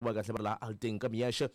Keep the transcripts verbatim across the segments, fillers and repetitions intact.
kuma kahle va ri laha alteng ka miyexe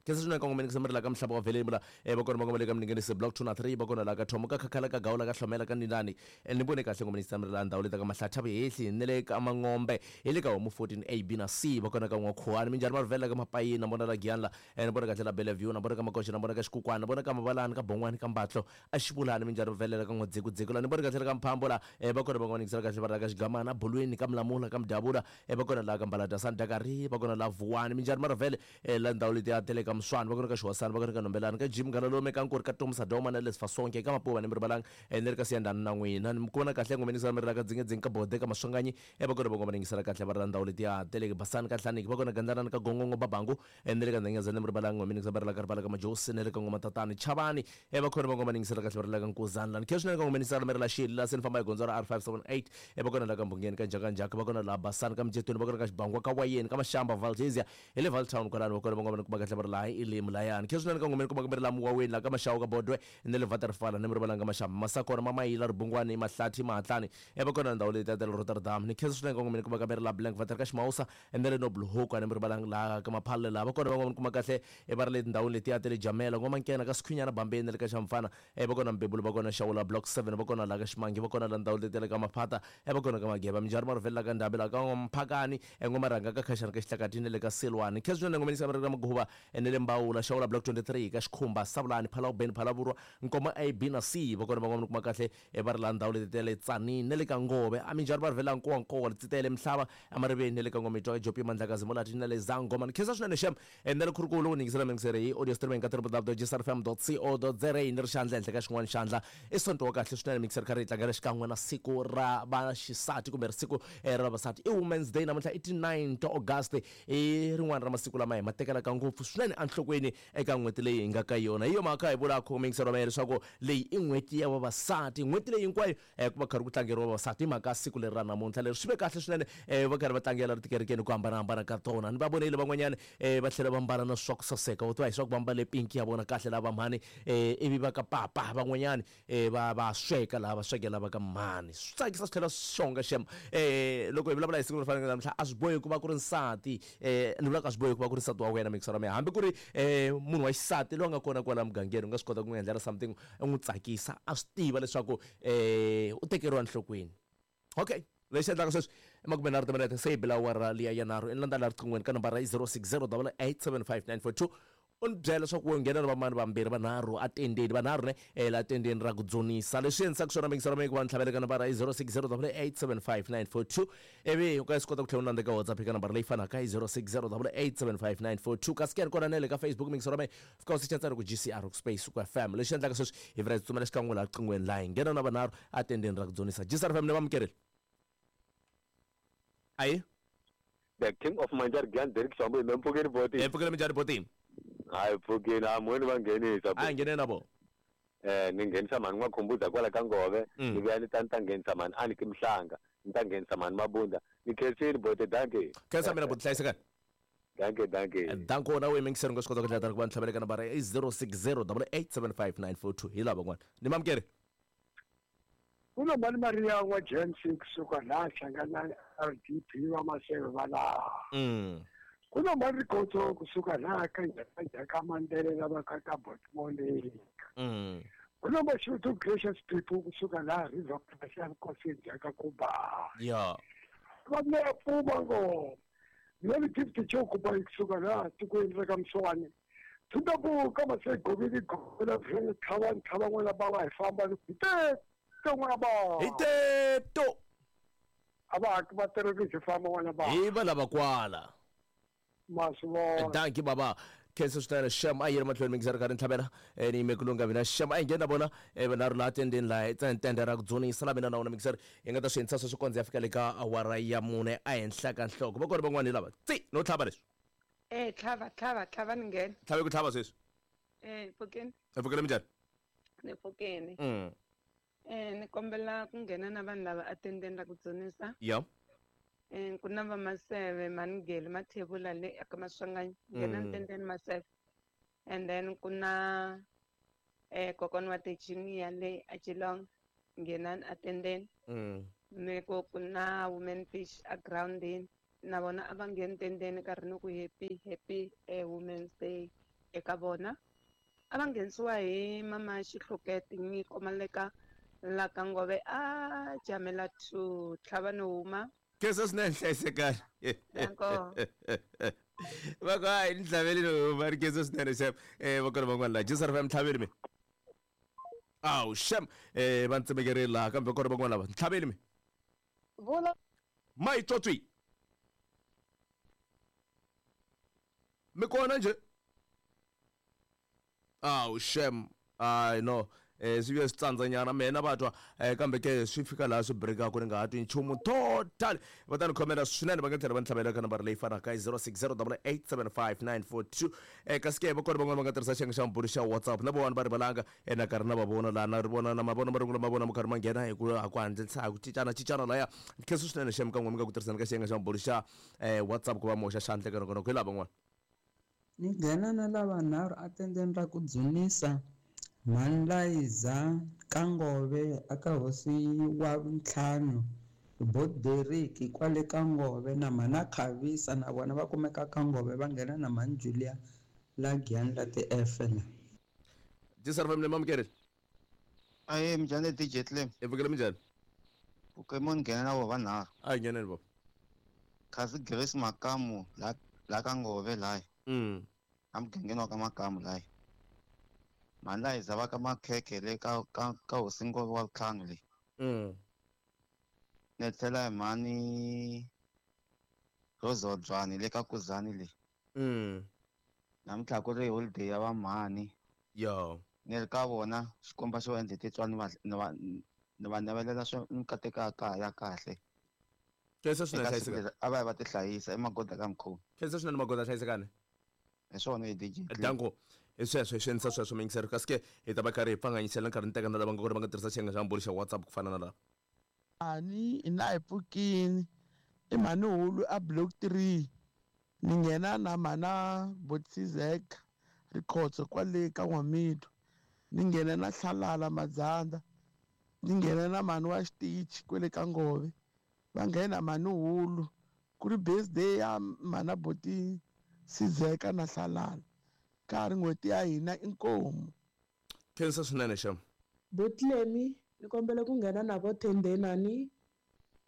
khensa swinene kongomeni ku samari la ka mhlaba wa veleni la eh va kona va ngomele ka mningenisi block two na three va kona la ka thomo ka khakhala ka gawula ka hlomela ka ninani ni vone kahle ngomeni samari la ndhawu leta ka mahlatha vehehli ni le ka mangombe hi le ka homu fourteen A B na C va kona ka n'wakhuwani minjhani va rivela ka mapayini na vona la giyani la ni vona kahle la Bellevue na vona ka makoxa na vona ka xikukwana na vona ka mavalani ka bon'wani ka mbatlo a xivulani minjhani va velela ka n'wadzikudziku la ni vona kahle la ka mphambo la eh va kona va ngomeni kahle va ri la ka xigamana bolweni ka mlamula ka mdavula eh va kona la ka mbalada sandakari va kona la vuwani minjhani va rivele la ndhawu leti ya tele ka mswani va kona ka xiwasani va kona ka nombelani ka jim ngala ka nkuri ka tomsa doma na lesfa sonke ka mapuva ni mi rivalanga ni ri ka siyandani na n'wina ni ku vona kahle ngomeni mi ri la ka dzingedzing ka bode ka maswanganyi e va kona va ngoma ningisela kahle va ri la ndhawu leti ya tele basani ka hlaniki va kona gandlanani ka gongongo babangu ni ri ka ndzengeza ni mi rivalanga ngomeni va ri la ka rivala ka majosi ni ri ka ngoma tatani chavani e va kona va ngoma ningisela kahle va ri la ka nkuzani lani khe swinene ka ngomeni mi ri la xili la se ni famba hi gondzo ra R five seven eight e va kona la ka mbungeni ka njakanjaka va kona la basani ka mjetweni va kona ka xibangwa ka wayeni ka mashamba Valdezia hi le Valtown kwalano va kona va ngoma kuma kahle va ri laha i limu layani khe swinene ka ngomeni kuma kumbe ri la muwaweni la ka maxawu ka bodwe ni le Waterfall ni mi rivalanga maxamba masakona mamayila ribungwani mahlathi mahatlani e va kona ndhawu leyi ta le Rotterdam ni khensa swinene ka ngomeni kuma kambe ri la Blank Vater ka Ximawusa ni le Noble Hook ni mi rivalanga laha ka maphalle laha va kona van'wana kuma kahle e va ri le tindhawini letiya ta le Jamela ngoma nkena ka Sikhwinyana Bambeni le ka Xamfana e va kona Mbebulu va kona Xawula block seven va kona laha ka Ximangi va kona la ndhawu letiya le ka Maphata e va kona ka Mageba minjhani va rivela ka Ndhabi la ka Mphakani e ngoma rhanga ka Khashani ka Xihlakatini le ka Silwani khensa swinene ngomeni sa ri ka Maguva ni le Mbawula Xawula block twenty-three ka Xikhumba Savulani Phalawubeni Phalavurwa Nkoma A B na C va kona van'wana kuma kahle e va ri la ndhawu leti ta le Tsanini na le ka Ngove a minjhani va rivela nkowankowa letsitele Mhlava amariveni na le ka Ngomitwa ka Jopi Mandlakazi Molati na le Zangoma ni khensa swinene xem na le khurukulu ningisela mingisere hi audio streaming ka w w w dot g s r f m dot co dot z a ni ri xandla henhla ka xin'wana xandla i sonto wa kahle swinene mingisere kha ri tlangela xikan'we na siku ra vaxisati kumbe siku ra vavasati i Women's Day namuntlha i ti nine ta August i rin'wana ra masiku lama hi ma tekelaka ngopfu swinene enhlokweni eka n'hweti leyi hi nga ka yona hi yo mhaka hi vulaka mingisero wa mehe leswaku leyi i n'hweti ya vavasati n'hweti leyi hinkwayo ku va karhi ku tlangeriwa vavasati hi mhaka siku leri ra namuntlha leri swi ve kahle swinene va karhi va tlangela ri tikerekeni ku hambanahambana ka tona ni va vonile van'wanyana va tlhela va mbala na swa ku saseka vo tiva hi swa ku va mbale pinki ya vona kahle lava mhani ivi va ka papa van'wanyana va va sweka laha va swekela va ka mhani swi tsakisa swi tlhela swi xonga xem loko hi vulavula hi siku leri faneleke namuntlha a swi bohi ku va ku ri nsati ni vulaka a swi bohi ku va ku ri nsati wa wena mingisero wa mehe hambi ku ri munhu wa xisati loyi a nga kona kwala mugangeni u nga swi kota ku n'wi endlela something u n'wi tsakisa a swi tiva leswaku u tekeriwa enhlokweni okay lexi endlaka sweswi i makume nharhu timinete se yi bila awara liya ya nharhu i landza laha riqinghweni ka nambara yi zero six zero double eight seven five nine four two u ni byela leswaku u nghena na vamani vambirhi vanharhu atendeni vanharhu ne eh la tendeni ra ku dzunisa leswi endlisaka swona mingisero mi ku va ni tlhavela ka nambara yi zero six zero double eight seven five nine four two ivi u ka swi kota ku tlhela u landza ka WhatsApp eka nambara leyi fanaka yi zero six zero double eight seven five nine four two kasi kona na le ka Facebook mingisero mi fika u secha ntsena ku G C R space ku F M leswi endlaka sweswi hi vula hi tsutsumela xikan'we laha riqinghweni laha hi nghena na vanharhu atendeni ra ku dzunisa G C R F M ni vamukerile ayi The King of Manjar Grand Derek Shambo hi mpfukeni boti hi mpfukeni minjhani boti hayi pfukeni a mhoni va nghenisa a nghene na vo eh ni nghenisa mhani n'wakhumbuza kwala ka Ngove ni vuya ni ta ni ta nghenisa mhani a ni ki Mhlanga ni ta nghenisa mhani Mabunda ni khensini bote danke khensa mina boti hlayisekani danke danke danko na we mingisero nga swi kota ku tlhela ku va ni tlhavela ka nambara i zero six zero double eight seven five nine four two hi lava van'wana ni mamukeri kuno mani Maria wa Gen six suka laha hlangana R D P va Maseve va laha kuno mani Rikhotso kusuka laha ka Njhaka Mandela lava ka ka Botmoleka kuno Mashudu Gracious People kusuka laha River Plus ya Nkosi Njhaka Kuba ya va na pfuma ngo ni gift chokuba kusuka laha tikweni ra ka Mswani Thundabu ka Masegovini gola vhele tlhava tlhava n'wana bava hi famba ni te n'wana ba hi teto a va haki va terrorist famba n'wana ba hi va lava kwala maswo danki baba khensa swinene xem a yi ri mahlweni mingiseri karhi ntlhavela ni yime ku lunga mina xem a yi nghena vona vanharhu laha tendeni laha tende ra ku dzunisa la mina na wona mingiseri hi nga ta swi endlisa sweswi kondza ya fika le ka awara ya mune ehenhla ka nhloko va kona van'wana hi lava tsi no tlhava leswi eh tlhava tlhava tlhava ni nghena tlhave ku tlhava sweswi eh pfukeni hi pfukele minjhani ni pfukeni mm eh ni kombela ku nghena na vanhu lava atendeni ra ku dzunisa ya eh ku na va Maseve Manigeli Mathebula le aka Maswanganyi nghena ntendeni Maseve and then ku na eh kokwana wa Tejinia le a Geelong nghena atendeni mm ni ku ku na Women Fish a groundini Na vona a va ngheni tendeni karhi ni ku happy happy eh, Women's Day eka vona. A va nghenisiwa hi mama Xihlokete Nyiko Maleka la ka Ngove a jamela two tlhava no huma. Khensa swinene hlayisekani. Danko. Va ku hayi ni tlhaveli no huma ri khensa swinene xem. Eh va kona van'wana la J S R F M tlhaveli mi. Awu xem eh va ntsemekerile laha kambe kona van'wana lava ntlhaveli mi. Vula. Mayitswotswi. Mi kona nje? Awu xem. Hayi no. Eh swi vuye swi tsandzanyana mina va twa eh kambe ke swi fika laha swi breakaka ni nga ha twi nchumu total. Va ta ni khomela swinene va nga tlhela va ni tlhavela ka nambara leyi fanaka i zero six zero eight eight seven five nine four two. Eh kasi ke va kona van'wana va nga tirhisa xiyenge xa mbulu xa WhatsApp na vona va rivalanga eh na karhi na va vona laha na ri vona na mavona marungulo ma vona mo karhi ma nghena hi ku ku hatlisa hi ku cincana cincana laya. Khensa swinene xem ka n'we mi nga ku tirhiseni ka xiyenge xa mbulu xa eh WhatsApp ku va moxa xandla ka nongonoko hi lava van'wana. Ni nghena na lavanharhu atendeni ra ku dzunisa Mhanlayiza ka Ngove aka hosi wa ntlhanu Boderiki kwale ka Ngove na mhana Khavisa na vona va kumeka ka Ngove va nghena na mhani Julia la Giyani la ti-F la. J S R F M mamukeri. Ahe, minjhani D J Clem? Hi pfukile, minjhani? Pfukile, ni nghena na vona vanharhu. A hi ngheneni baba. Kasi Grace Makamu la la ka Ngove laya. Mm. A mugangeni wa ka Makamu laya. Mhani Layiza va ka Makhekhe le ka ka ka hosi Ngove wa vutlhanu le. Mm. Ni tlhela hi mhani Rozodzwani le ka Kuzani le. Mm. Namuntlha ku ri holiday ya va mhani. Yo. Ni ri ka vona Xikwembu xo endle titswani va ni va ni va navelela swa mikateko ya kaya ya kahle. Khensa swinene Eka siku hlayisekani. leri a va yi va tihlayisa emagoda ka mukhuva. Khensa swinene magoda hlayisekani. Hi swona hi D J Clem. Danko. Hi sweswo hi swi endlisa sweswo miyingiseri kasi ke hi ta va karhi hi pfanganyisela nkarhi ni teka na lava nga kona va nga tirhisa xiyenge xa mbulu xa WhatsApp ku fana na lava. Mhani ina hi pfukini i mhani hulu a block three ni nghena na mhana Botsizeka Rikhotso kwale ka N'wamitwa, ni nghena na Hlalala Madzanda, ni nghena na mhani wa xitichi kwele ka Ngove, va nghena mhani hulu ku ri birthday ya mhana Boti Sizeka na Hlalala ka ha ri n'hweti ya hina inkomu. Khensa swinene xem. Botlemi ni kombela ku nghena na vo Thendenani,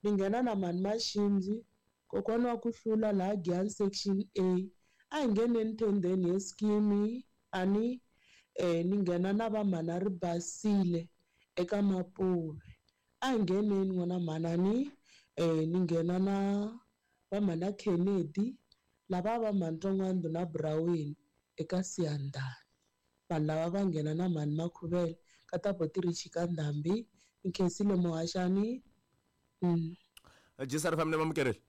ni nghena na mhani Maxindzi kokwana wa ku hlula laha Giyani section A. A hi ngheneni thendeni hi scheme ani eh ni nghena na va mhana Ribasile eka Mapuve. A hi ngheneni n'wana mhanani eh ni nghena na va mhana Kennedy lava va mhani Ntongwando na Brown eka Siyandhani. Vanhu lava va nghena na mhani Makhuvele ka ta Botirichi ka Ndhambi. Ni khensile muhaxani. Mm. J S R F M mamukereli.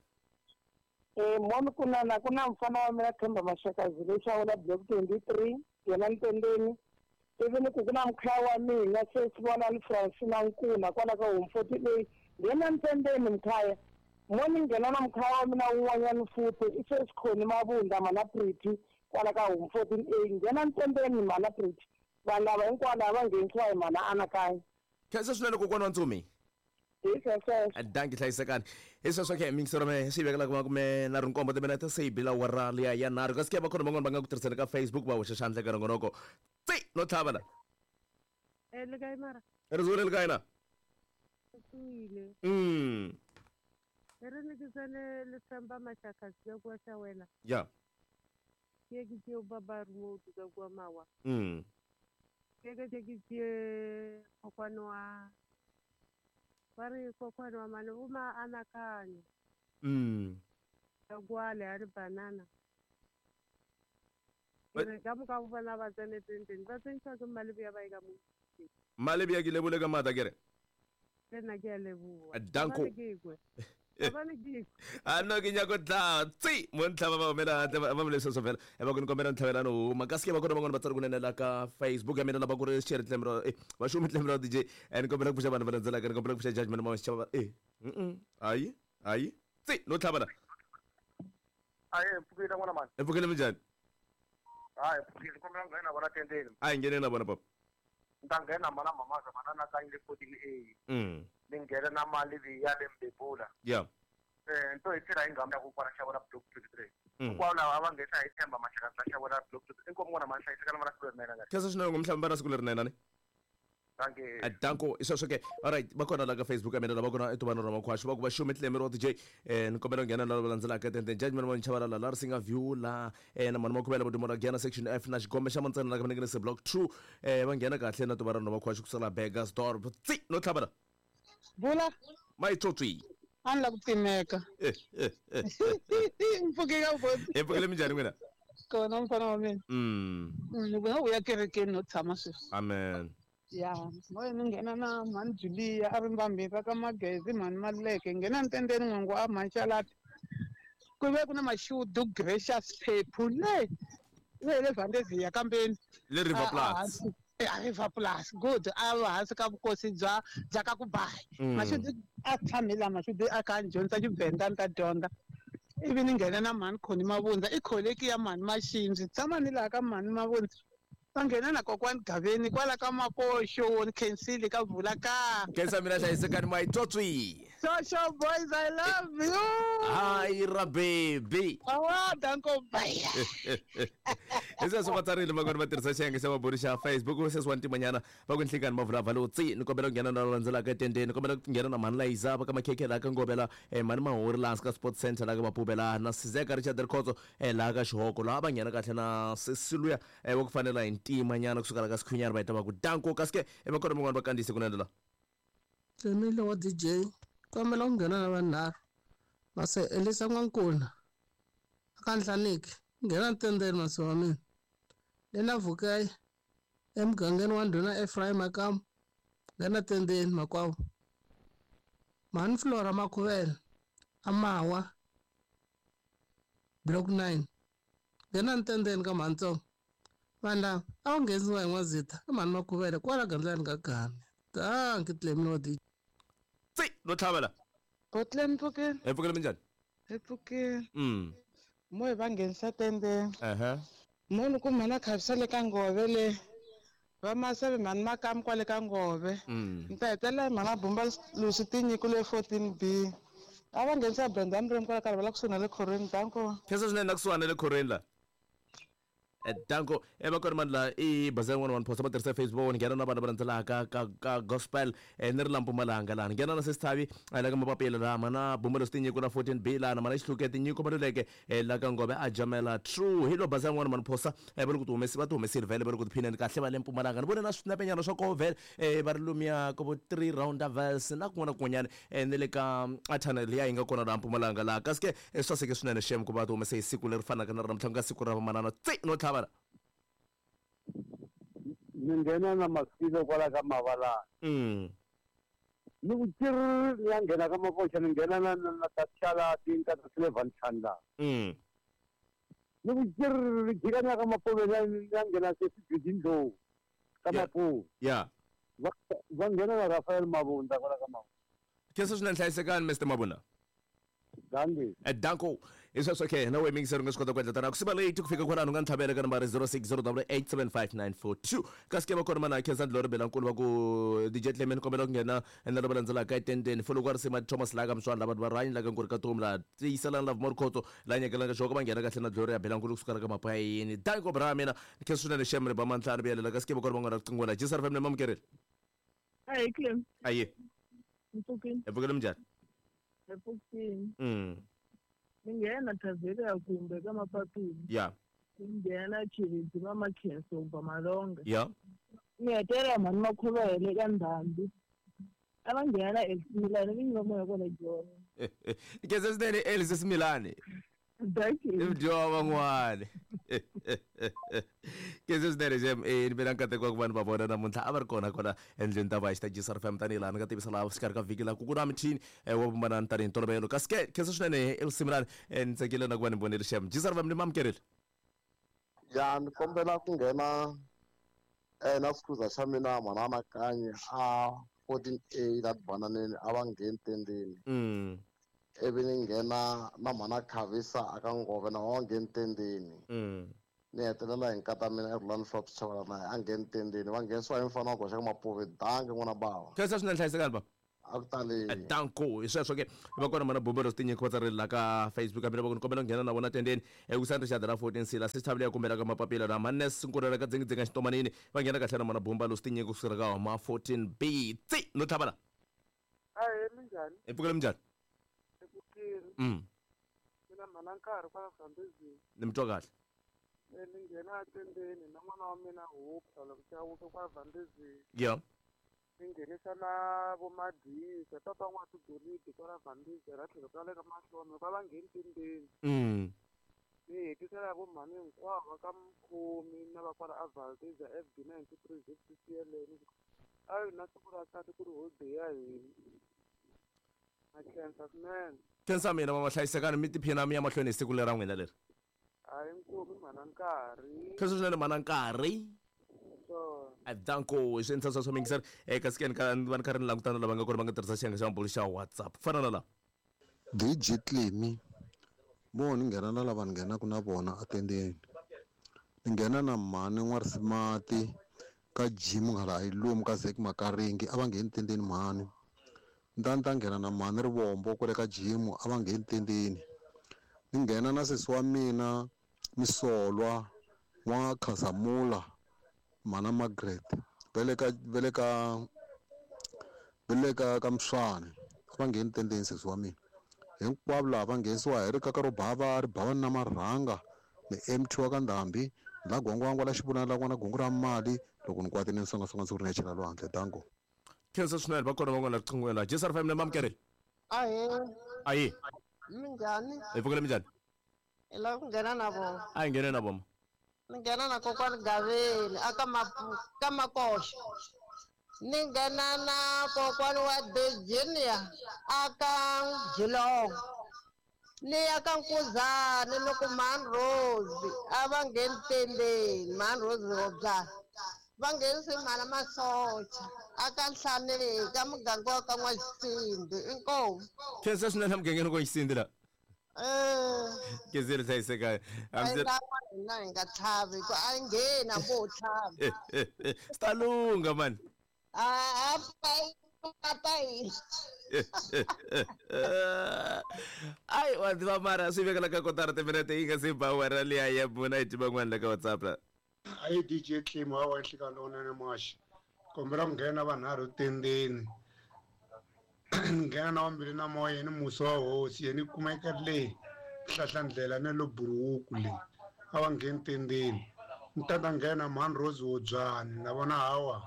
Eh moni kunana ku na mfana wa mina Themba Mashakazi lexi a wela block twenty-three yena Ntendeni. Ivi ni ku ku na mukhaya wa mina se swi vona ni Francina Nkuna kwala ka home forty eight yena Ntendeni mkhaya. Moni nghena na mukhaya wa mina wun'wanyana futhi i se Sikhoni Mabunda mana Pretty kwala ka home fourteen A nghena Ntendeni mana Pretty. Vanhu lava hinkwavo lava va nghenisiwa hi mana Anakanya. Khensa swinene kokwana wa Ntsumi. Hi sweswo. Danki hlayisekani. Hi sweswo ke miyingiseri me swi vekela kuma kume na rinkombo timinete se yi bila awara liya ya nharhu kasi ke va kona van'wana va nga ku tirhiseni ka Facebook va hoxa xandla ka nongonoko. Tsi no tlhava la. Eh le kae mara? Ri zuwile le kae na? Tswile. Mm. E re ne ke tsene le Themba Mashakazi ka kua Shawela. Ya. Ke ke tšeo ba ba remote ka kua Mawa. Mm. Ke ke ke tšee kokwane wa ba re kokwane wa mane o ma anakanya. Mm. Ka kua le a re banana. Ke re ka moka go bona ba tsene tenteng ba tsentšha ke Malebea ba e ka mo. Malebea ke lebole ka maatla ke re. Le nna ke a leboha. Danko. Gobane ke kwe. Gobane ke kwe. A no ke nyako tla tsi mo ntlha ba ba mela hantle ba ba leswo fela e ba ku ni kombela ntlhavelano huma kasi ke va kona van'wana va tsari kunene la ka Facebook ya mina lava ku ri share tlemro eh va xumi tlemro D J e ni kombela ku pfuxa vanhu va landzelaka ni kombela ku pfuxa judgment ma xava eh mm hayi hayi tsi no tlhava la. Aye, mpfukile n'wana mani. E pfukile, minjhani? Hayi, mpfukile, kombela nghena vona tendeni. A hi ngheneni na vona papa. Ni ta nghena mana mamaza mana na kanyile fourteen A. Mm ni nghena na mali leyi ya le Mbebula. Ya. Eh nto hi tirha hi nghamu ya kokwana Xavula block twenty-three. Hinkwavo lava a va nghena hi Themba Mashakadza Xavula block twenty-three. Inkomu n'wana ma hlayisekana va na siku lerinene ngati. Khensa swinene ngomhlamba na siku lerinene ni. Danko isweswo ke alright va kona la ka Facebook ya mina lava kona etuvanhu ra makhwaxu va ku va xumi tlemeri wa D J eh ni kombela ku nghena lava landzelaka tenten judgment wa nchavalala la ri singa view la eh na mani makhuvela vudumo ra Giyana section F na xigombe xa mantsana la ka minengene se block two eh va nghena kahle na tuvanhu ra makhwaxu ku sala Burgersdorp tsi no tlhavela vula mayitsotsi a ni la ku timeka mpfuke ka voti hi pfukile minjhani n'wina kona mfana wa mina mm ni vona u ya kerekeni no tshama sweswi amen ya moya ni nghena na mhani Julia a ri mbambirhi ka Magezi mhani Maluleke nghena ntendeni n'wangu a mhani Xalati ku ve ku na Mashudu Gracious Phephu le le le Vandezia kambeni le River Plus a River Plus good a va hansi ka vukosi bya bya ka ku bayi Mashudu a tshame la Mashudu a kha a dyondza Xivenda ni ta dyondza ivi ni nghena na mhani Khoni Mavundza i kholeki ya mhani Maxindzi tshama ni laha ka mhani Mavundza va nghena na kokwani Gaveni kwala ka Makoxo ni khensile ka vula ka khensa mina hlayisekani mayitsotsi Social boys I love you hi ra baby awa danko bye hi sweswo va tsarile van'wani va tirhisa xiyenge xa mabulu xa Facebook sweswi wa ntimanyana va ku nhlikani mavulavula lo tsi ni kombela ku nghena na landzelaka etendeni ni kombela ku nghena na mhani Layiza va ka Makhekhe laha ka Ngovela mhani Mahori laha ka Sports Center laha ka Mapuve laha na Sizeka Richard Rikhotso laha ka Xihoko laha va nghena kahle na Sesiluya wa ku fanela hi ntimanyana kusuka la ka Sikhunyana va heta va ku danko kasi ke va kona van'wani va kandziyise kunene la Tlemile wa D J kombela ku nghena na vanharhu mase Elisa N'wankuna aka Nhlaniki nghena ntendeni mase wa mina lena Vukayi emugangeni wa ndhuna Ephraim Makamu nghena tendeni makwavo mhani Flora Makhuvela Amawa block nine nghena ntendeni ka mhantsongo vanhu lava a wu nghenisiwa hi N'wazita ka mhani Makhuvela kwala gandlani ka Game danki Tlemile wa D J tsi no tlhavela Botlem mpfukeni hi pfukile minjhani hi pfukile mm mo hi va nghenisa tendeni ehe munhu ku mhana khavisa le ka Ngove le va Maseve mhani Makamu kwale ka Ngove ni ta hetelela hi mhana Bumba Lusi tinyiko le fourteen B a va nghenisa Brenda Mremi kwala karhi va la kusuhi na le khorweni danko khensa swinene na kusuhana le khorweni la danko e va kona mani la i bazar one one post va tirhisa Facebook ni nghena na vanhu va landzelaka ka ka gospel ni ri la Mpumalanga laha ni nghena na Sesithavi la ka Mapapila laha mana Bumba Tinyiko la fourteen B laha na mana Xihluke Tinyiko Maluleke la ka Ngove a jamela true hi lo bazar one one post va ri ku ti humesi va ti humesile vhele va ri ku tiphineni kahle va le Mpumalanga ni vone na swinepenyana swa koho vhele va ri lumiya ka vo three roundavels na kun'wana na kun'wanyana ni le ka a tunnel liya yi nga kona laha Mpumalanga laha kasi ke swi saseke swinene xem ku va ti humese hi siku leri fanaka na ra namuntlha ku nga siku ra vamanana tsi no tlhava ni nghena na Masilo kwala ka Mavalana mm ni ku tirhi ni ya nghena ka Makoxa ni nghena na na Tatshala tinka ta Silvan Chandla mm ni ku tirhi jika ni ya ka Mapuve ni ya nghena se Sibidindlo ka Mapuve ya va nghena na Rafael Mabunda kwala ka Mapuve khensa swinene hlayisekani Mister Mabunda Danki danko hi sweswo ke na wehe mingiseri u nga swi kota ku endla tana ku siva late ku fika kwalano u nga ni tlhavela ka nambara zero six zero double eight seven five nine four two kasi ke va kona mana Khensa Ndlori Belankulu va ku D J Tlemeni kombela ku nghena na lava landzelaka etendeni folo ku ri sima Thomas laha ka Mswana lava va rhanyi laha ka Nkuri ka Tomu laha tiyiselani Love Morkhotso laha nyekelaka xoko va nghena kahle na Gloria Belankulu kusuka la ka Mapayini danko bra mina khensa swinene xem ri ba mantlhanu vuyelela kasi ke va kona van'wana riqingho la Jisar family mamukerile Ayi Clem ayi mpfukile hi pfukile minjhani hi pfukile mm ni nghena Tavela kumbe ka Mapapila ya ni nghena Chiridzi va Makhenso va Malonga ya ni hetelela mhani Makhuvele ka Ndhambi a va nghena Esimilani vinyi va moya kona Joni khensa swinene Elise Similani i mudyiwa wa van'wani khensa swinene xem e ni ve na nkateko wa ku vanhu va vona namuntlha a va ri kona kwala endlwini ta vaxi ta G S R F M tanihi laha ni nga tivisa laha xikarhi ka vhiki laha ku ku na michini wa vumbanani tanihi ntolovelo kasi ke khensa swinene Elsimilani ni tsakile na ku va ni vonile xem G S R F M ni mamukerile ya ni kombela ku nghena eh na sikhuza xa mina mhana Makanyi a fourteen A la Bananeni a va ngheni tendeni mm ivi ni nghena na mhana Khavisa aka Ngove na va ngheni tendeni mm ni hetelela hi nkata mina eRhulani Flops Chavalana a ngheni tendeni va nghenisiwa hi mfana wa goxa ka Mapuve danki n'wana bava khensa swinene hlayisekani baba A ku taleni. Danko hi sweswo ke va kona mana bumbelo tinyiko va tsarile la ka Facebook hambi va ku kombela nghena na vona tendeni eku sandra xa dara fourteen sila se thavile ya kumbela ka mapapila na manes nkurela ka dzingidzinga xitomanini va nghena kahle na mana bumbelo tinyiko kusukela ka ma fourteen B tsi no tlhavana. Ahe minjhani? Hi pfukile minjhani? Hi pfukile. Mm. Mina mhana nkarhi kwala Zambezini. Ni mi twa kahle. Ni nghena tendeni na n'wana wa mina Hope tlhelo Chauke kwa Zambezini. Yeah. Ni nghenisa na vo Madisa papa n'wa tigolidi kwala Zambezi ra tlhelo ka le ka Mahlome va va ngheni tendeni. Mm. Ni hetisela vo mhani hinkwavo va ka Mkhomi na va kwala a Valdezia F B ninety-three Z C C L N. A na siku ra kahle ku ri holiday ya hina. Na khensa swinene. Khensa mina mama hlayisekani mi tiphina mi ya mahlweni hi siku lera n'wina leri. A hi nkomi mhana nkarhi. Khensa swinene mhana nkarhi. Danko swi endla swa mingiseri eka sikeni ka va ni karhi ni langutana lava nga kona va nga tirhisa xiyenge xa mabulu xa WhatsApp fana na la D J Clemi mo ni nghena na lava ni nghenaka na vona atendeni ni nghena na mhani n'warisimati ka gym nghala a yi lomu ka Zek Makaringi a va ngheni tendeni mhani ni ta ni ta nghena na mhani Rivombo kwale ka gym a va ngheni tendeni ni nghena na sesi wa mina Misolwa n'wa Khazamula mana Margaret vele ka vele ka vele ka ka Mswane a va ngheni tendeni sesi wa mina hinkwavo lava va nghenisiwa hi rikaka ro bava ri bava na marhanga ni M T wa ka Ndhambi la gwangwangwa la xivonana la n'wana gungu ra mali loko ni kwatini ni songasonga ndzi ku ri ni ya chela lwandle danko. Khensa swinene va kona van'wana riqingweni la J S R five na mamukeri. Ahe. Ayi. Minjhani? Hi pfukile minjhani? Hi lava ku nghena na vona. A hi nghene na vona. Ni nghena na kokwani Gaveni aka ka Makoxa. Ni nghena na kokwani wa Virginia aka Geelong. Ni ya ka Nkuzani loko Mhani Rose a va ngheni tendeni Mhani Rose Robyana va nghenise mhana Masocha aka Nhlaneki ka muganga wa ka N'waxisindi inkomu. Khensa swinene mugangeni wa N'waxisindi la. Eh. Kezeri hlayiseka. Hina hi nga tlhavi ku a ngheni hambi wo tlhava. Swi ta lungha mani. A a yini. Ai wa tiva mara swi vekela ka kotara timinete yi nga se ba wena liya ya pfuna yi tiva n'wana la ka WhatsApp la. Ayi D J Clem wa wa hlika lona maxi kombela ku nghena vanharhu tendeni nghena na wambirhi na moya ni musi wa hosi yena kumeka le hlahlandlela na lo buruku le a va ngheni tendeni ni tata nghena Mhani Rose Wobyani na vona hawa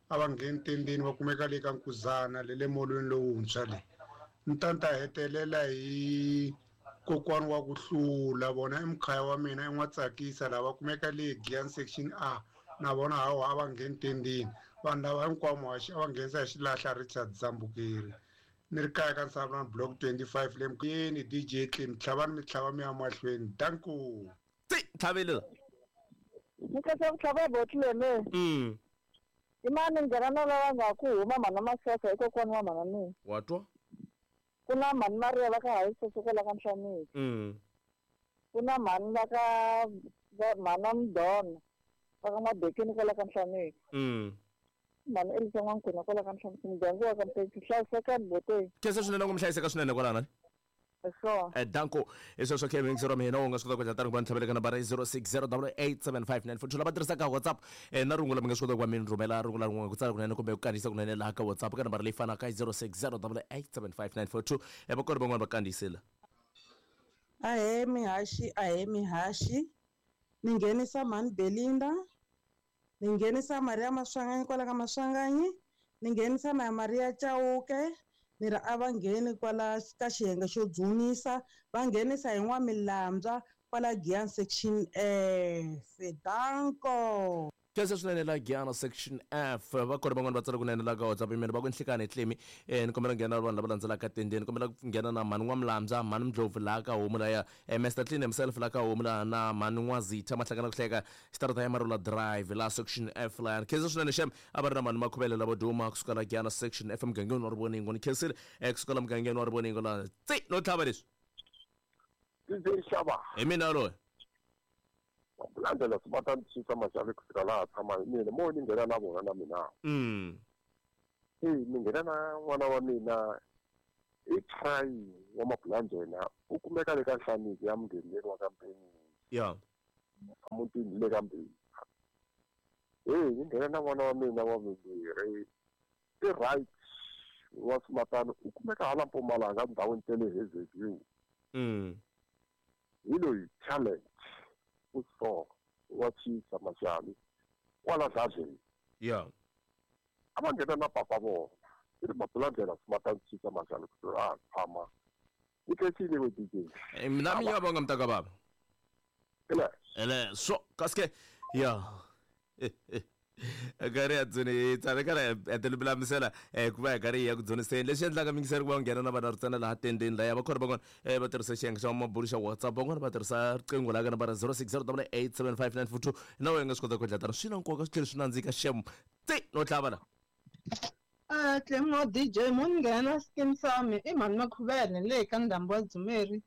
a va ngheni tendeni va kumeka le ka Nkuzana le le molweni lowuntshwa le ni tata hetelela hi kokwani wa ku hlula vona i mukhaya wa mina i n'wa tsakisa lava kumeka le Giyani section A na vona hawa a va ngheni tendeni vanhu lava hinkwavo muhaxi a va nghenisa hi xilahla Richard Zambukeri ni ri kaya ka Nsavulani block twenty-five le mukuyeni D J Clem tlhavani mi tlhava mi ya mahlweni danko. Ti tlhavile ni khensa ku tlhava botlene. Mm. I mani nghena na lava nga ku huma mhana Masocha i kokwani wa mhana mina. Wa twa? Ku na mhani Maria va ka Hayisoso kwala ka Nhlaneki. Mm. Ku na mhani va ka mhana Mdona va ka Mabekeni kwala ka Nhlaneki. Mm. Mhani Elisa N'wankuna kwala ka Nhlaneki muganga wa ka Mpeki hlayisekani boteni. Khensa swinene ku mi hlayiseka swinene kwalana. Sure. Eh danko hi sweswo khe mingisero mina u nga swi kota ku dlatana ku va ni tlhaveleka nambara zero six zero double eight seven five nine four two lava tirhisaka WhatsApp eh na rungula mi nga swi kota ku va mi rhumela rungula rin'wana ku tsala kunene kumbe ku kandziyisa kunene laha ka WhatsApp ka nambara leyi fanaka zero six zero double eight seven five nine four two eh va kona van'wana va kandziyisela. Ahe mihaxi ahe mihaxi ni nghenisa Mhani Belinda ni nghenisa Maria Maswanganyi kwala ka Maswanganyi ni nghenisa na Maria Chauke ni ri a va ngheni kwala ka xiyenge xo dzunisa va nghenisa hi N'wamilambya kwala Giyani section F danko. Khensa swinene la Giyani section F va kona van'wana va tsala kunene la ka WhatsApp mina va ku nhlikani Clemi eh ni kombela nghena vanhu lava landzelaka tendeni kombela ku nghena na Mhani N'wamilambya Mhani Mdlovu la ka homu laya Mister Clean himself la ka homu la na Mhani N'wazitha Mahlakana ku hleka xitarata ya Marula Drive la section F la khensa swinene xem a va ri na Mhani Makhuvele lavo duma kusuka la Giyani section F mugangeni wa Rivoningo ni khensile kusuka la mugangeni wa Rivoningo la tsi no tlhava leswi D J Xava hi mina loyi landzela swi va ta ni susa maxavi kusuka laha tshama hi mina mo ni nghena na vona na mina. Mm. Hey, ni nghena na n'wana wa mina i try wa Mabulandlela u kumeka le ka Nhlaniki ya mugengeni wa ka Mpeni. Yeah. Emutini le ka Mpeni. Hey, ni nghena na n'wana wa mina wa vumbirhi i right wa Simatana u kumeka hala Mpumalanga ndhawini ta le Hazyview. Mm. Hi loyi challenge u so wa Chisa Mashali kwala Dladleni. Yeah. A va nghena na papa vona i ri Mabulandlela Simatana Chisa Mashali ku a tshama ni khensile we D J. Mina mi ya bonga mntaka baba. Ele. Ele so kaske ya. Karhi ya dzuni tsale karhi ya tilulamisela ku va hi karhi hi ya ku dzuniseni leswi endlaka mingiseri ku va nghena na vana ntsena laha tendeni laya va khona van'wana va tirhisa xiyenge xa mabulu xa WhatsApp van'wana va tirhisa riqingho laha ka nambara zero six zero double eight seven five nine four two na wena nga swi kota ku endla tano swi na nkoka swi tlhela swi nandzika xem ti no tlhava la. Ah, Clemo D J munghena skim sami i mhani Makhuvele le ka ndhambi wa Dzumeri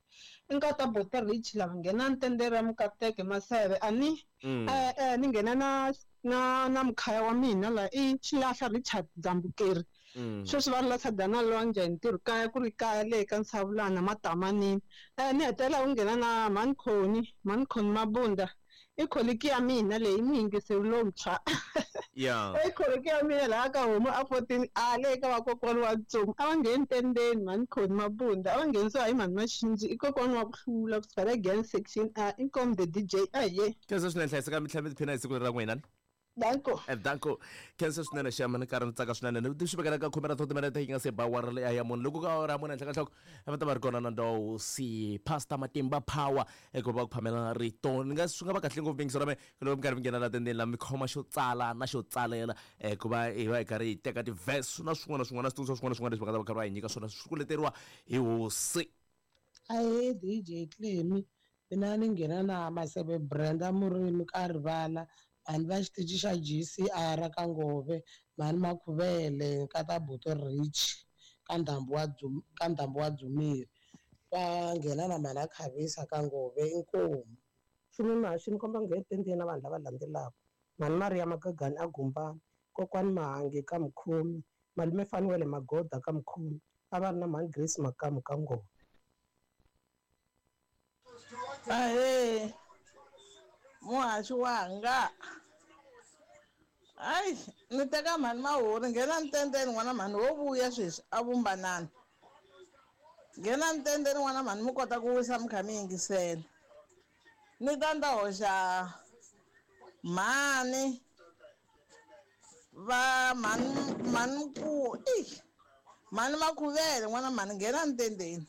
i nkata Bote Rich lava nghena ntendere ya Mukateke Maseve ani eh eh ni nghena na na na mukhaya wa mina la i Xilahla Richard Dzambukeri sweswi va ri la Sadana Lwandle hi ntirho kaya ku ri kaya le ka Nsavulana Matamanini eh ni hetelela ku nghena na mhani Khoni mhani Khoni Mabunda i kholiki ya mina leyi muyingiseri lontshwa. Yeah. I kholiki ya mina laha ka homu a fourteen a le ka vakokwana wa Ntsongo a va ngheni tendeni mhani Khoni Mabunda a va nghenisiwa hi mhani Maxinji i kokwana wa ku hlula ku suka le Gyan section a inkomu the D J a ye. Khensa swinene hlayiseka mi tlhela mi tiphina hi siku leri ra n'wina. Danko. Danko. Khensa swinene xama ni karhi ni tsaka swinene ni swi vekela ka khume ra timinete yi nga se ba awara leyi ya mune loko ka awara ya mune henhla ka nhloko va ta va ri kona na ndhawu si Pastor Matimba Power eku va ku phamela rito ni nga swi nga va kahle ngopfu mingiso ra me loko mi karhi mi nghena la tendeni la mi khoma xo tsala na xo tsalela ku va hi va hi karhi hi teka ti-verse na swin'wana na swin'wana switsundzuxo swin'wana na swin'wana leswi va nga ta va karhi va hi nyika swona swi ku leteriwa hi hosi. Ahee D J Clemi mina ni nghena na Maseve Brenda Murimi ka rivala mhani va xitichi xa G C R ka Ngove mhani Makhuvele nkata Bote Rich ka ndhambi wa ka ndhambi wa Dzumeri va nghena na mhani a Khavisa ka Ngove inkomu. Xi ni komba nghena tendeni na vanhu lava landzelaka mhani Maria Magagani a Gumbani kokwani Mahangi ka Mukhomi malume Fanuwele Magoda ka Mukhomi a va ri na mhani Grace Makamu ka Ngove. Ahee muhaxi wanga hayi ni teka mhani Mahuri nghena ntendeni n'wana mhani wo vuya sweswi a vumbanani nghena ntendeni n'wana mhani mi kota ku wisa mi kha mi yingisela ni ta ni ta hoxa mhani va mhani mhani ku i mhani Makhuvele n'wana mhani nghena ntendeni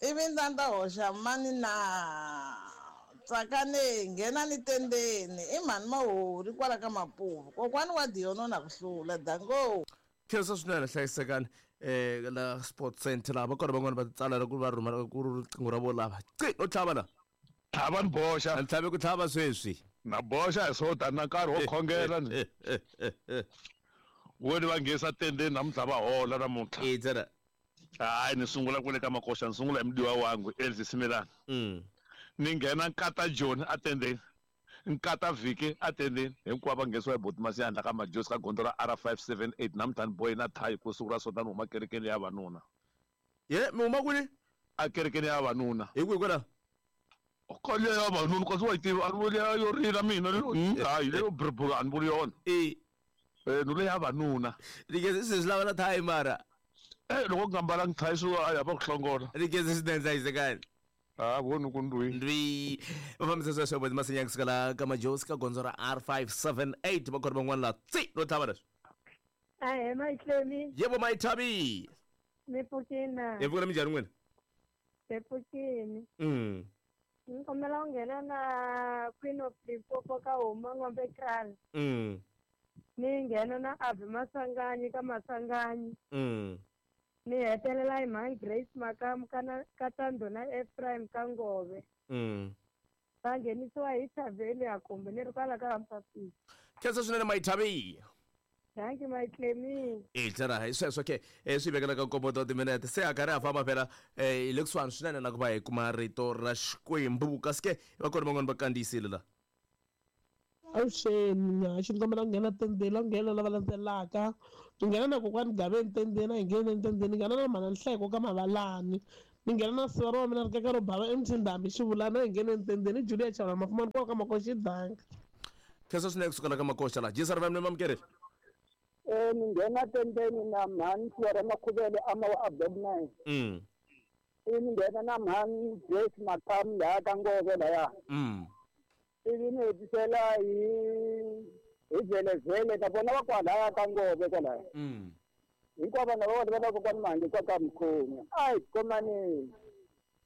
ivi ni ta ni ta hoxa mani na Tsakane nghena ni tendeni i mhani Mahuri kwala ka Mapuvu kokwani wa Diono na ku hlula dango. Khensa swinene hlayisekani eh la Sports Center lava kona van'wana va tsala loko va rhumela ku riqingho ra vo lava qi no tlhava la tlhava ni boxa ni tlhave ku tlhava sweswi na boxa hi swo tani na nkarhi wo khongela ni wo ni va nghesa tendeni namuntlha va hola namuntlha e tsena hayi ni sungula kwale ka Makoxa ni sungula hi mudiwa wangu Elvis Similana mm ni nghena nkata John atendeni nkata Viki atendeni hinkwavo va nghenisiwa hi Boti Masiyandla ka Majosi ka gondzo ra R five seven eight namuntlha ni bohi na thayi ku siku ra sotani huma kerekeni ya vanuna. Ye mi huma kwini? A kerekeni ya vanuna. Hi kwihi kwala? Ka liya ya vanuna kasi wa yi tiva a ni vuli ya yo rila mina hayi leyo brr a ni vuli yona. E eh ni leya vanuna. Ni swi lava na thayi mara. Eh loko ku nga mbalangi thayi swi a ya va ku hlongola. Ni khensa swinene hlayisekani. Ah vona ku ndwi ndwi va fambisa sweswo Boti Masinyanga kusuka la ka Majosi ka gondzo ra R five seven eight va khona van'wana la tsi no tlhava leswi. Ahee Mayitlemi. Yebo Mayithabi. Mi pfukini. Hi pfukile minjhani n'wina? Hi pfukini. Mm. Ni kombela ku nghena na Queen of Limpopo ka Huma N'wambe Kraal. Mm. Ni nghena na Avi Masanganyi ka Masanganyi. Mm. Ni hetelela hi mhani Grace Makamu ka na ka Tandona Ephraim ka Ngove. Mm. Va nghenisiwa hi Thaveni ya kumbe ni ri kwala ka Mpapisi. Khensa swinene Mayithabi. Thank you Mayitlemi. E tsena hi sweswo ke swi vekela ka nkombo ta timinete se a karhi a famba phela hi le kusuhani swinene na ku va hi kuma rito ra Xikwembu kasi ke va kona van'wana va kandziyisile la. Avuxeni Nyaxi, ni kombela ku nghena tendeni, la nghena lava landzelaka. Ni nghena na kokwani Gaveni tendeni, a hi ngheni tendeni. Ni nghena na mhana Nhleko ka Mavalani. Ni nghena na sivara wa mina ri kaka ro bava emtindambi xivulana, a hi ngheni tendeni. Julia Chavula Mafumani kwala ka Makoxa Danka. Khensa swinene kusuka la ka Makoxa la. G S R V M ni mamukerile. Eh ni nghena tendeni na mhani Sivara Makhuvele ama wa Block nine. Mm. Ni nghena na mhani Grace Makamu laha ka Ngove laya. Mm. Ivi ni hetisela hi hi Velevele na vona va kwalaya ka Ngove kwalaya. Mm. Hinkwavo vanhu va vona va kokwani Mhangi kwa ka Mkhomi. Ai khomaneni.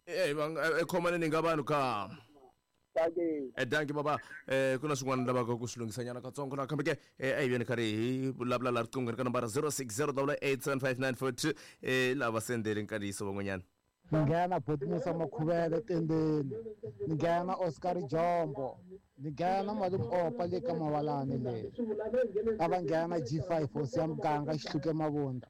Eh va khomaneni nga vanhu ka. Eh danki baba eh kuna swin'wana lavaka ku swi lunghisanyana katsongo na kambe ke eh a hi veni karhi hi vulavula la riqinghweni ka nambara zero six zero eight seven five nine four two eh lava sendele nkandziyiso van'wanyana. Ni nghena Botmusa Makhuvele tendeni, ni nghena Oscar Jombo, ni nghena Malume Opa le ka Mavalani le. A va nghena G five hosi ya muganga Xihluke Mavunda.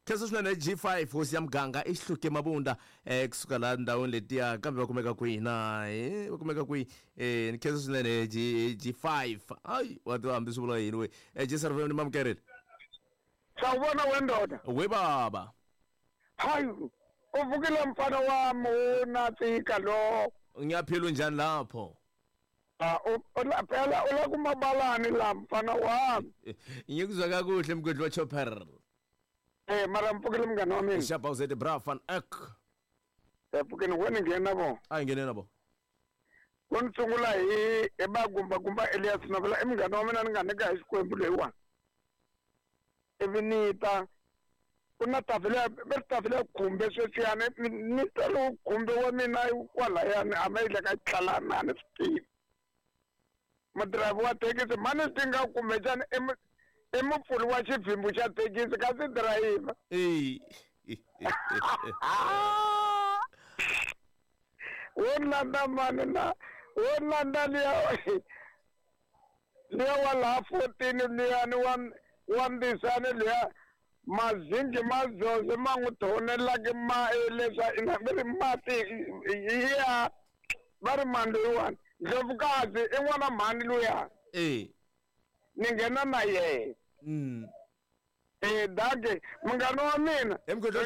Khensa swinene G five hosi ya muganga i Xihluke Mavunda eh kusuka laha ndhawini letiya kambe va kumeka kwihi na eh va kumeka kwihi eh ni khensa swinene G G5 ai wa tiva hambi swi vula yini we eh G S R V ni mamukerile. Sawubona wendoda. We baba. Hayi uvukile mfana wami unatsika lo. Ngiyaphila unjani lapho? Ah phela ula kumabalani la mfana wami. Ngikuzwa kakuhle mgwedli wa chopper. Eh mara mpukile mngani wami. Shapa uzete bra van ek. Epukeni wena ngena bo. Ayi ngena bo. Kontsungula hi ebagumba gumba Elias Navela emngani wami na ngane ka Xikwembu leyiwa. Evinita kuna tafela bertafela kumbe sweswiyana ni talo kumbe wa mina kwalayani a ma ile ka tlalana ni swi madirayivha wa thekisi mani swi nga kumbexana i mupfuli wa xivhimbu xa thekisi kasi dirayivha wo landza mani na wo landza liya liya wa laha fourteen liyani wa wa mbisani liya mazingi mazozo ma n'wi thonelaki ma leswa ina va ri mati ya va ri mani loyiwani Ndlovukazi i n'wana mhani luya eh ni nghena na yena mm eh dage munghana wa mina ringeta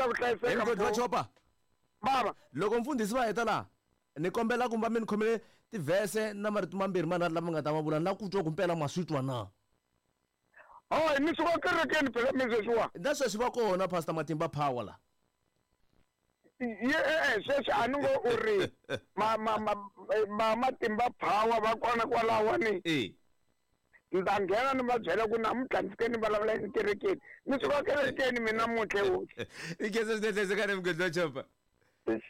ku hlayiseka mgwedli wa chopa baba loko mfundhisi va heta laha ni kombela ku va mi ni khomele tivhese na marito mambirhi manharhu lama nga ta ma vula na ku twa ku mpela ma swi twa na. Oh, ni suka kerekeni phela mi sweswiwa. Na sweswi va kona Pastor Matimba Power la. Ye eh sweswi a ni ngo u ri ma ma ma Matimba Power va kona kwalawani. Eh. Ni ta nghena ni va byela ku namuntlha ni fike ni vulavula ekerekeni. Ni suka kerekeni mina namuntlha hosi. I khensa swinene hlayiseka mgwedli wa chopa.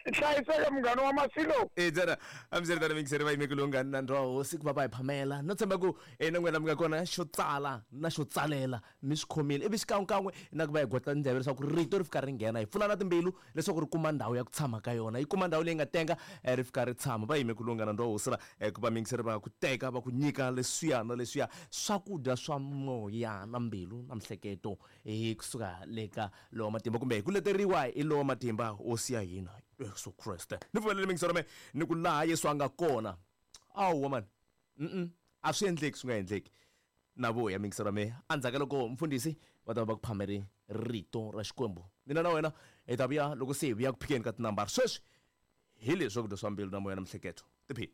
Hlayiseka munghana wa Masilo. Eh tsana amseritana mingiseri va yimeke lungani na ndhawu hosi ku va va hi phamela no tshemba ku na n'wina mi nga kona xo tsala na xo tsalela mi swi khomile ivi xikan'wekan'we na ku va hi gotla ndleve leswaku rito ri fika ri nghena hi pfula na timbilu leswaku ri kuma ndhawu ya ku tshama ka yona yi kuma ndhawu leyi nga tenga ri fika ri tshama va yime ku lungana ndhawu hosi la ku va mingiseri va ku teka va ku nyika leswiya na leswiya swakudya swa moya na mbilu na mihleketo hi kusuka le ka lowa matimba kumbe hi ku leteriwa hi lowa matimba hosi ya hina Yesu Kriste. Ni pfumelele mingisero me ni ku laha Yesu a nga kona. Awu man. Mm a swi endleki swi nga endleki. Na vuya mingisero me endzhaku ka loko mfundhisi va ta va ku phameri rito ra Xikwembu. Mina na wena hi ta vuya loko se hi vuya ku phikeni ka tinambara. Sweswi hi leswi swakudya swa mbilu na moya na mihleketo. Tiphini.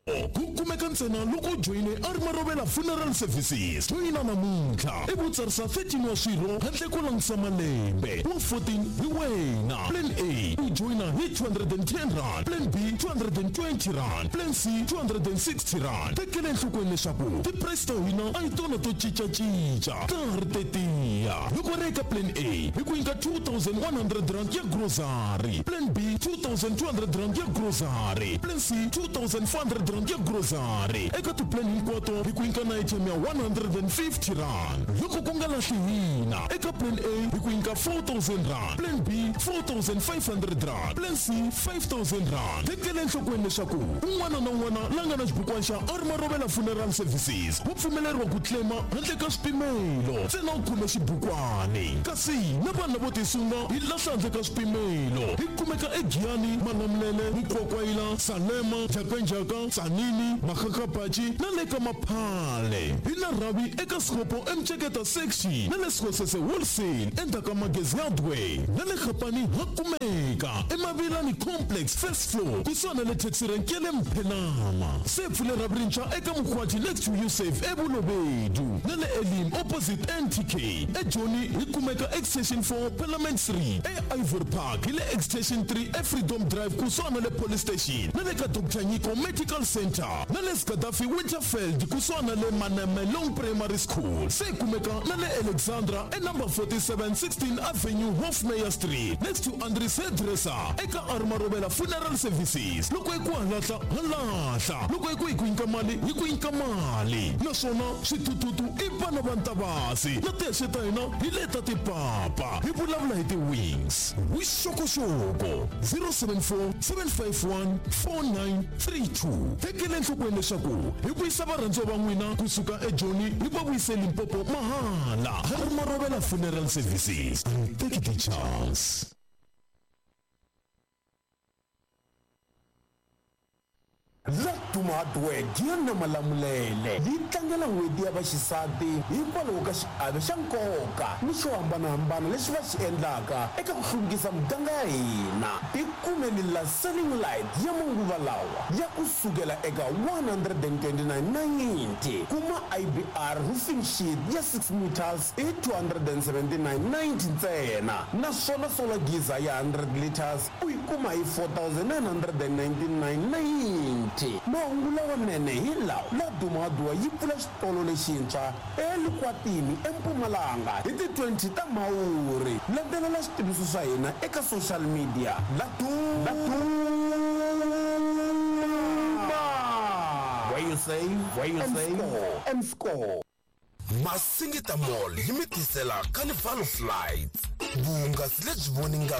Ku kumeka ntsena loko joyine a ri Marovela Funeral Services. Joyina namuntlha i ku tsarisa thirteen wa swirho handle ko langutisa malembe wa fourteen hi wena. Plan A u joyina hi two hundred and ten rand, Plan B two hundred and twenty rand, Plan C two hundred and sixty rand. Tekela enhlokweni leswaku ti-price ta hina a hi tona to cincacinca ta ha ri tetiya. Loko ri eka Plan A hi ku nyika two thousand one hundred rand ya grocery, Plan B two thousand two hundred rand ya grocery, Plan C two thousand four hundred rand ya grocery. Eka ti-plan hinkwato hi ku nyika na item ya one hundred and fifty rand. Loko ku nga lahli hina eka Plan A hi ku nyika four thousand rand, Plan B four thousand five hundred rand, Plan Plan C five thousand rand. Tekela enhlokweni leswaku un'wana na un'wana la nga na xibukwana xa Armarovela Funeral Services wa pfumeleriwa ku claima handle ka swipimelo, ntsena u khome xibukwani. Kasi na vanhu lavo tisunga hi lahla handle ka swipimelo. Hi kumeka eGiyani, Malamulele, Mukwakwayila, Salema, Njhakanjhaka, Tsanini, Makgakgabatshi na le ka Maphale. Hi na rhavi eka Sikopo eMceketa section na le Sekgosese Wholesale endzhaku ka Magezi Hardware na le Gapani ha kumeka eMavilani Complex first floor kusuhana na le taxi rank ya le Mphenama. Se pfule rhavi rintshwa eka Mkhwati next to Usave eBulobedu na le Elim opposite N T K. eJoni hi kumeka extension four Parliament three, e Ivory Park hi le extension three eFreedom Drive kusuhana na le police station na le ka Doctor Nyiko Medical Center na le Gaddafi Winterfeld kusuhana na le Manemelong Primary School. Se kumeka na le Alexandra e number forty-seven sixteen Avenue Hofmeyer Street next to Andries Hairdresser eka Armarovela Funeral Services. Loko hi ku halahla halahla, loko hi ku hi ku nyika mali hi ku nyika mali, naswona switututu i vana va Ntavasi na tihexe ta hina hi leta tipapa. Hi vulavula hi ti-wings. Vuxokoxoko zero seven four seven five one four nine three two. Tekela enhlokweni leswaku hi vuyisa varhandziwa va n'wina kusuka eJoni hi va vuyise Limpopo mahala. Armarovela Funeral Services, take the chance. Laduma Hardware Giyani Malamulele yi tlangela n'hweti ya vaxisati hikwalaho ka xiave xa nkoka ni xo hambanahambana lexi va xi endlaka eka ku hluvukisa muganga ya hina. Tikumeni la selling light ya manguva lawa ya ku sukela eka one hundred and twenty-nine ninety, kuma I B R roofing sheet ya six meters i two hundred and seventy-nine ninety ntsena, naswona solar geyser ya hundred liters u yi kuma hi four thousand nine hundred and ninety-nine ninety. Mahungu lawanene hi lawa Laduma Hardware yi pfula xitolo lexintshwa eLikwatini eMpumalanga hi ti twenty ta Mhawuri. Landzelela switiviso swa hina eka social media. Laduma, where you save, where you save and score. Masingita Mall yi mi tisela Carnival of Lights, vuhungasi lebyi voningaka.